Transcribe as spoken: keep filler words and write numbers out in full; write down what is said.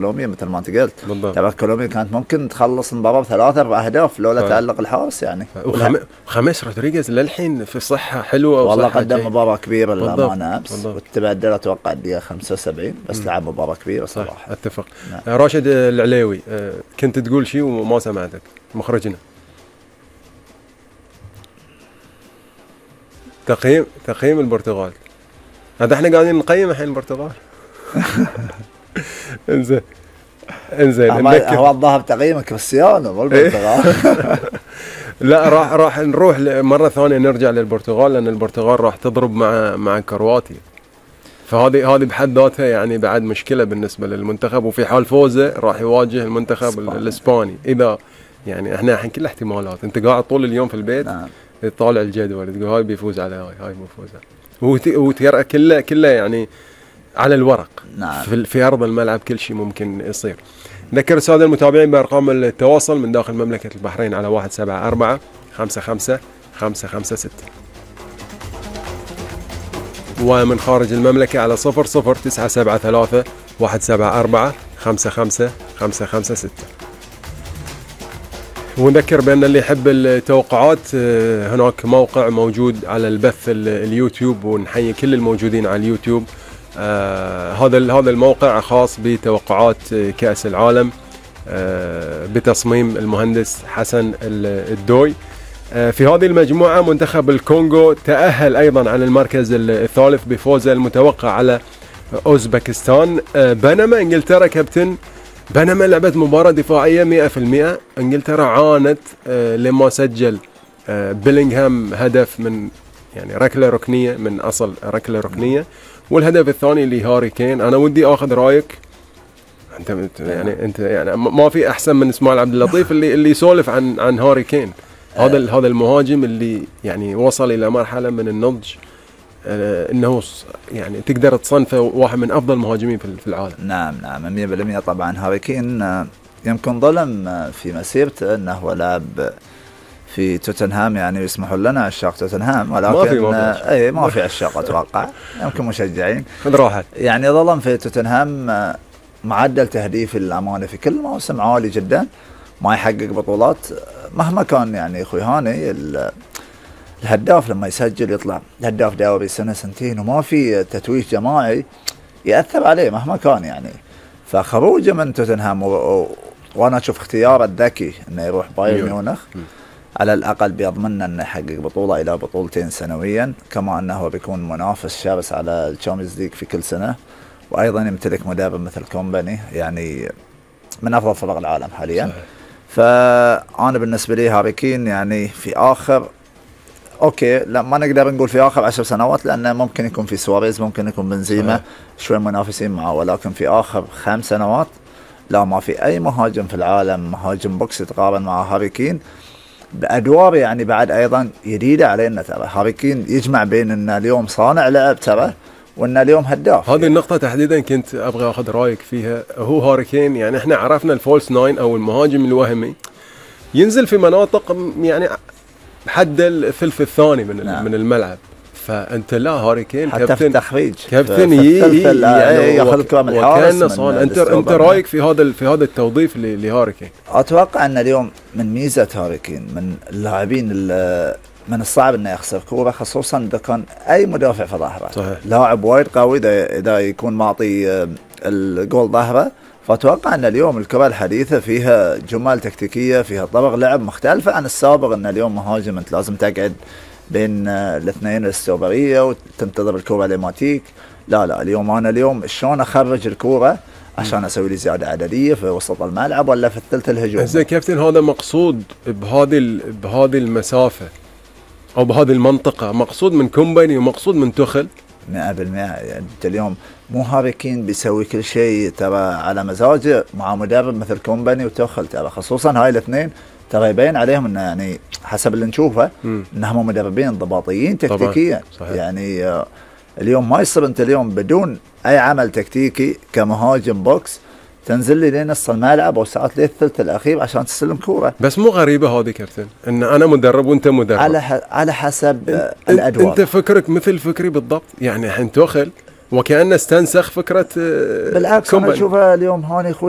كولومبيا مثل ما انت قلت. بالضبط. ترى كولومبيا كانت ممكن تخلص المباراه بثلاث اربع اهداف لولا تالق الحارس يعني. وخم... وخميس رودريغيز للحين في صحه حلوه، والله قدم مباراه كبيره للامانه امس، بالضبط. وتبدل اتوقع الدقيقه خمسة وسبعين بس م. لعب مباراه كبيره صراحه. صح. اتفق. نعم. راشد العليوي، كنت تقول شيء وما سمعتك مخرجنا. تقييم تقييم البرتغال. هذا احنا قاعدين نقيم الحين البرتغال. انزين انزين هو الظاهر تقييم كريستيانو مو البرتغال. لا راح راح نروح مره ثانيه نرجع للبرتغال، لان البرتغال راح تضرب مع مع كرواتيا، فهذه هذه بحد ذاتها يعني بعد مشكله بالنسبه للمنتخب، وفي حال فوزه راح يواجه المنتخب الاسباني. اذا يعني احنا الحين كل احتمالات، انت قاعد طول اليوم في البيت نعم. تطالع الجدول تقول هاي بيفوز على هاي هاي بيفوز على، وترى كله كله يعني على الورق. نعم. في, في ارض الملعب كل شيء ممكن يصير. نذكر الساده المتابعين بارقام التواصل من داخل مملكه البحرين على واحد سبعة أربعة خمسة خمسة خمسة خمسة ستة، ومن خارج المملكه على صفر صفر تسعة سبعة ثلاثة واحد سبعة أربعة خمسة خمسة خمسة خمسة ستة. ونذكر بأن اللي يحب التوقعات هناك موقع موجود على البث اليوتيوب، ونحيي كل الموجودين على اليوتيوب. آه هذا هذا الموقع خاص بتوقعات كأس العالم آه بتصميم المهندس حسن الدوي. آه في هذه المجموعة منتخب الكونغو تأهل أيضا على المركز الثالث بفوزه المتوقع على أوزبكستان. آه بينما إنجلترا كابتن، بينما لعبت مباراة دفاعية مئة بالمئة. انجلترا عانت آه لما سجل آه بيلينغهام هدف من يعني ركلة ركنية، من أصل ركلة ركنية، والهدف الثاني لهاري كين. أنا ودي أخذ رأيك أنت يعني أنت يعني ما في أحسن من إسماعيل عبد اللطيف اللي اللي يسولف عن عن هاري كين، هذا هذا المهاجم اللي يعني وصل إلى مرحلة من النضج آه انه يعني تقدر تصنفه واحد من افضل المهاجمين في العالم. نعم نعم مئة بالمئة. طبعا هاري كين يمكن ظلم في مسيرته انه هو لاعب في توتنهام، يعني يسمحوا لنا عشاق توتنهام، ولكن ما في ما في اي ما في عشاق اتوقع يمكن مشجعين. خذ راحت. يعني ظلم في توتنهام، معدل تهديف الامانه في كل موسم عالي جدا، ما يحقق بطولات مهما كان. يعني اخوي هاني الهداف لما يسجل يطلع هداف دوري سنه سنتين وما في تتويج جماعي ياثر عليه مهما كان يعني. فخروجه من توتنهام و... و... وانا اشوف اختياره الذكي انه يروح بايرن ميونخ، على الاقل بيضمن انه يحقق بطوله الى بطولتين سنويا، كما انه بيكون منافس شرس على الشامبيونز ليج في كل سنه، وايضا يمتلك مدرب مثل كومباني يعني من افضل فرق العالم حاليا. صحيح. فانا بالنسبه لي هاري كين يعني في اخر اوكي لا ما نقدر نقول في اخر عشر سنوات، لانه ممكن يكون في سواريز، ممكن يكون بنزيما شوي منافسين معه، ولكن في اخر خمس سنوات لا ما في اي مهاجم في العالم مهاجم بوكس يتقارن مع هاري كين بادوار يعني بعد ايضا جديده علينا. ترى هاري كين يجمع بين ان اليوم صانع لعب ترى وان اليوم هداف. هذه يعني النقطه تحديدا كنت ابغى اخذ رايك فيها. هو هاري كين يعني احنا عرفنا الفولس ناين او المهاجم الوهمي ينزل في مناطق يعني حد الثلث الثاني من نعم. من الملعب، فانت لا هاري كين حتى في التخريج كابتن ياخذ الكره من الحارس. انت انت رايك في هذا في هذا التوظيف لهاري كين؟ اتوقع ان اليوم من ميزه هاري كين من اللاعبين من الصعب انه يخسر كوره، خصوصا اذا كان اي مدافع في ظهره. لاعب وايد قوي اذا اذا يكون معطي الجول ظهره. فأتوقع أن اليوم الكرة الحديثة فيها جمال تكتيكية، فيها طرق لعب مختلفة عن السابق. أن اليوم مهاجم أنت لازم تقعد بين الاثنين الاستوبرية وتنتظر الكرة لما تيك. لا لا اليوم أنا اليوم شلون أخرج الكرة عشان أسوي لي زيادة عددية في وسط الملعب ولا في الثلث الهجومي. زين كابتن، هذا مقصود بهذه بهذه المسافة أو بهذه المنطقة، مقصود من كومباني ومقصود من توخل مئة بالمئة. يعني انت اليوم مو هاري كين بيسوي كل شيء ترى على مزاجه مع مدرب مثل كومباني وتوخل، ترى خصوصا هاي الاثنين ترى يبين عليهم انه يعني حسب اللي نشوفه انهم مدربين انضباطيين تكتيكيا. يعني آه اليوم ما يصير انت اليوم بدون اي عمل تكتيكي كمهاجم بوكس تنزل لي لين نص الملعب او ساعات لين الثلث الاخير عشان تستلم كوره. بس مو غريبه هذه كابتن ان انا مدرب وانت مدرب؟ على ح... على حسب انت الادوار. انت فكرك مثل فكري بالضبط. يعني الحين توخل وكأنه استنسخ فكرة آه، بالعكس كومان. انا اشوفها اليوم هاني اخوي